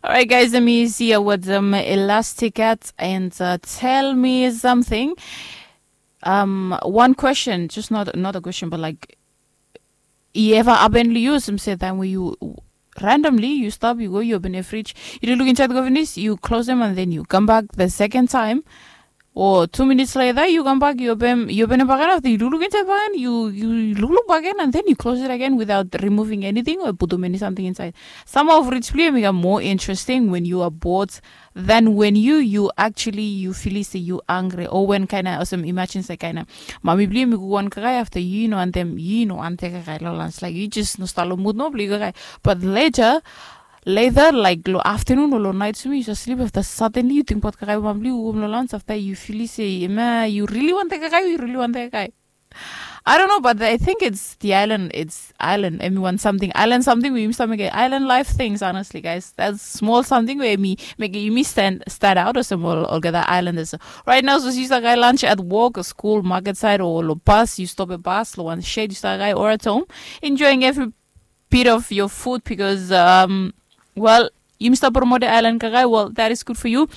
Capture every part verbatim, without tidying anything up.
Alright, guys, let me see what um, Elastic at and uh, tell me something. Um, one question, just not not a question, but like, i ever happen li yu, some say time where you randomly you stop, you go, you open a fridge, you look inside the governess, you close them, and then you come back the second time. Or two minutes later, you come back, you open, you open it back, and after you look inside back, and you you look back again, and then you close it again without removing anything or put too many something inside. Some of rich play make a more interesting when you are bored than when you you actually you feel say you angry or when kind of some imagine say kind of mami play me go one guy after you know and them you know and take a guy lolans like you just no start mood no play guy. But later later like lo afternoon or lo night to me you just sleep after suddenly you think about guy mami go home lolans after you feel say man you really want that guy you really want that guy. I don't know, but I think it's the island. It's island. Everyone something island something. We used to make it island life things. Honestly, guys, that's small something where me make you me stand stand out or some all, all other islanders. Right now, so you guy lunch at work, or school, market side, or lo bus. You stop a bus, lo one shade. You start guy or at home, enjoying every bit of your food because um, well, you must promote the island kakai. Well, that is good for you.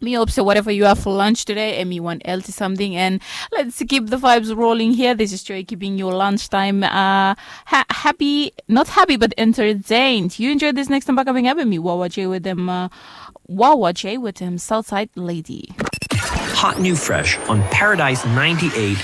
Me hope so whatever you have for lunch today and me want healthy something and let's keep the vibes rolling here. This is Joy keeping your lunch time uh ha- happy, not happy but entertained. You enjoy this next time back coming up and me Wawa J with them uh, Wawa J with them Southside Lady. Hot new fresh on Paradise ninety-eight.